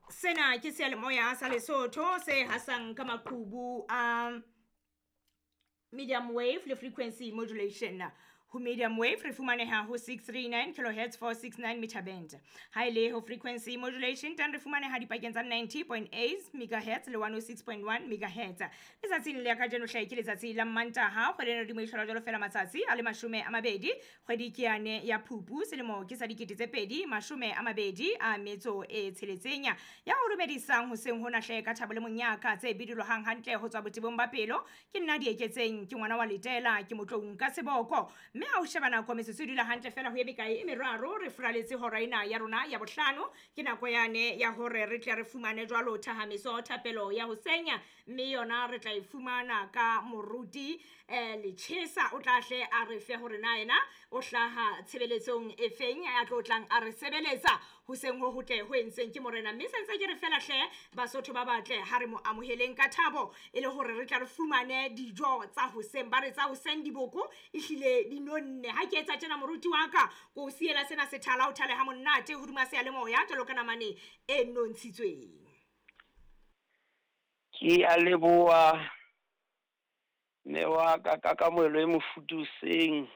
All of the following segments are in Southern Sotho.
Sena ke seyalemoya sa Lesotho se hasang ka maqhubu a medium wave le frequency modulation. Ho medium wave re fumaneha ho 639 kilohertz 469 meter band. Ha e le ho frequency modulation teng re fumaneha dipakeng tsa 90.8 megahertz le 106.1 megahertz. Letsatsing le kajeno hle ke letsatsi la Mmantaha, kgwedi ena hodimo e hlola jwalo fela matsatsi a le 20, kgwedi ke yane ya Phupu, selemo ke sa 2026. Ya o dumedisang hoseng hona hle ka thabo le monyaka tse bidilohang hantle ho tswa botebong ba pelo, ke nna Dieketseng, ke ngwana wa Letela, ke motloung ka seboko. Mme ha o sheba nako metsotso e dula hantle fela ho ye mekae e meraro, re furaletse hora ena ya rona ya bohlano. Ke nako yane ya hore re tle re fumane jwalo thahamiso thapelo ya ho senya, mme yona re tla e fumana ka moruti Lechesa. O tla hle a re fe hore na yena o hlaha tshebeletsong e feng a tlo tlang a re sebeletsa hoseng ho hotle ho entseng ke morena. Mme sentse ke re fela hle Basotho ba batle, ha re mo amoheleng ka thabo e le hore re tla re fumane dijo tsa hoseng. Ba re tsa hoseng diboko ehlile di nonne. Ha ke etsa tjena moruti wa ka, ko siela sena sethala o thale ha monate hodima seyalemoya jwalo ka namane e nontshitsweng. Ke a leboha mme wa ka ka kamohelo e mofuthu hoseng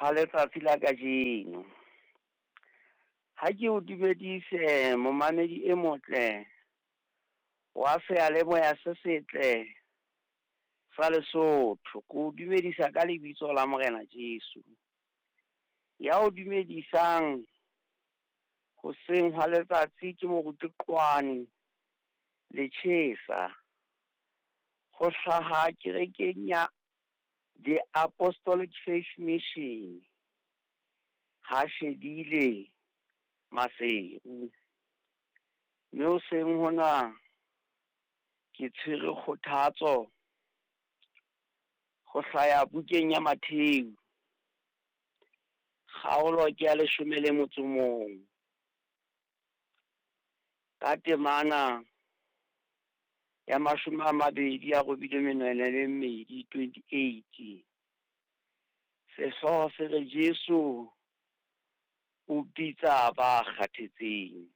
ha letsatsi la kajeno. Ha ke o dumedise momamedi e motle wa seyalemoya se setle sa Lesotho. Ke o dumedisa ka lebitso la Morena Jesu. Ya o dumedisang hoseng ha letsatsi ke moruti Qwane Lechesa, ho hlaha kerekeng ya The Apostolic Faith Mission, ha shebile Maseru. Mme hoseng hona ke tshwere kgothatso ho hlaya bukeng ya Mattheu, kgaolo ke ya 11, ka temana ya 28, 28. Sehlooho se re Jesu o bitsa ba kgathetseng.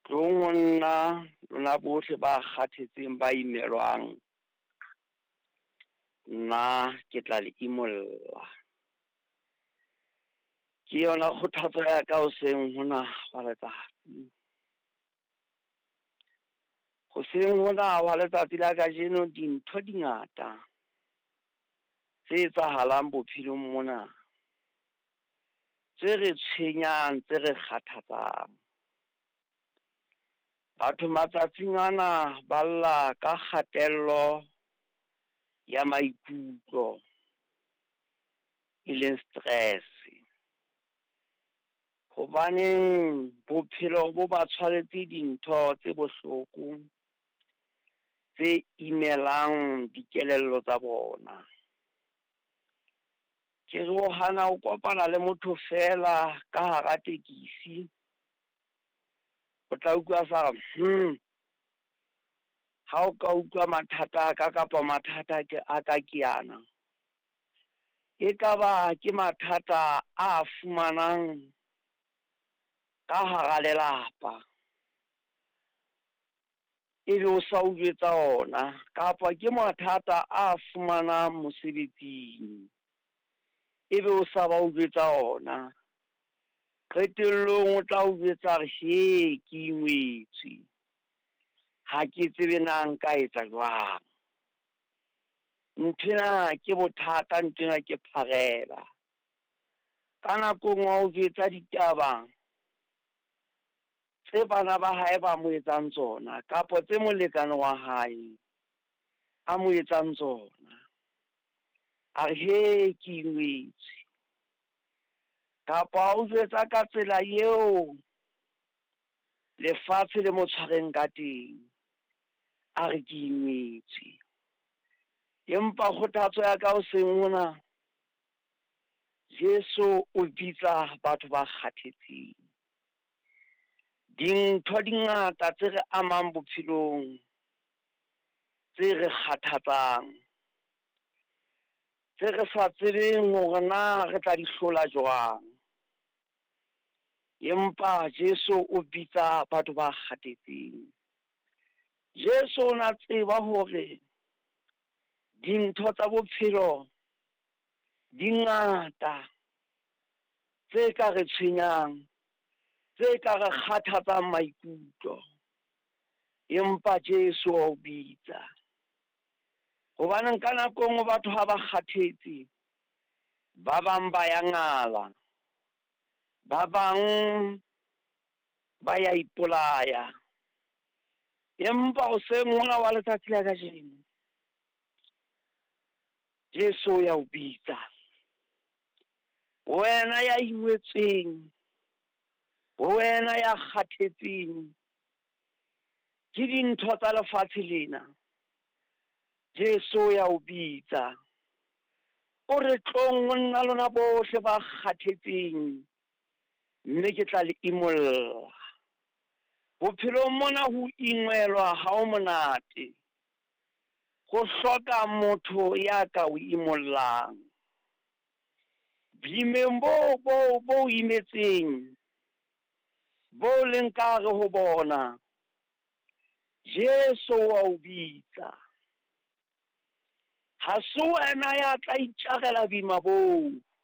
Tlong ho nna lona bohle ba kgathetseng ba imelwang, nna ke tla le imolla. Ke yona kgothatso ya ka hoseng hona wa letsatsi. Hoseng hona wa letsatsi la kajeno dintho di ngata tse etsahalang bophelong mona, tse re tshwenyang, tse re kgathatsang. Batho matsatsing ana ba lla ka kgatello ya maikutlo, e leng stress. Hobaneng bophelo bo ba tshwaretse dintho tse bohloko tse imelang dikelello tsa bona. Ke re o hana ho kopana le motho fela ka hara tekesi, o tla utlwa sa re ha o ka utlwa mathata a ka kapa mathata a ka ke ana. E ka ba ke mathata a fumanang ka hara lelapa, ebe o sa o jwetsa ona, kapa ke mathata a fumanang mosebetsing, ebe o sa ba o jwetsa ona. Qetellong o tla o jwetsa re he ke ingwetswe, ha ke tsebe na nka etsa jwang. Nthwena ke bothata, nthwena ke pharela. Ka nako e nngwe ha o jwetsa ditaba tse bana ba hae ba mo etsang tsona, kapa tse molekane wa hae a mo etsang tsona, a re he ke ingwetswe. Kapa o jwetsa ka tsela eo lefatshe le mo tshwareng ka teng, a re ke ingwetswe. Empa kgothatso ya ka hoseng hona, Jesu o bitsa batho ba kgathetseng. Dintho di ngata tse re amang bophelong, tse re kgathatsang, tse re sa tsebeng hore na re tla di hlola jwang. Empa Jesu o bitsa batho ba kgathetseng. Jesu o na tseba hore dintho tsa bophelo di ngata tse ka re tshwenyang, tse ka re kgathatsang maikutlo. Empa Jesu wa o bitsa. Hobaneng ka nako e nngwe batho ha ba kgathetse, ba bang ba ya ngala, ba bang ba ya ipolaya. Empa hoseng hona wa letsatsi la kajeno, Jesu o ya o bitsa. Wena ya imetsweng, wena ya kgathetseng ke dintho tsa lefatshe lena, Jesu o ya o bitsa. O re tlong ho nna lona bohle ba kgathetseng, mme ke tla le imolla. Bophelong mona ho ingwelwa ha ho monate. Ho hloka motho ya ka o imollang. Boimeng bo bo bo imetseng, bo leng ka hare ho bona, Jesu wa o bitsa. Ha se wena ya tla itjarela boima boo.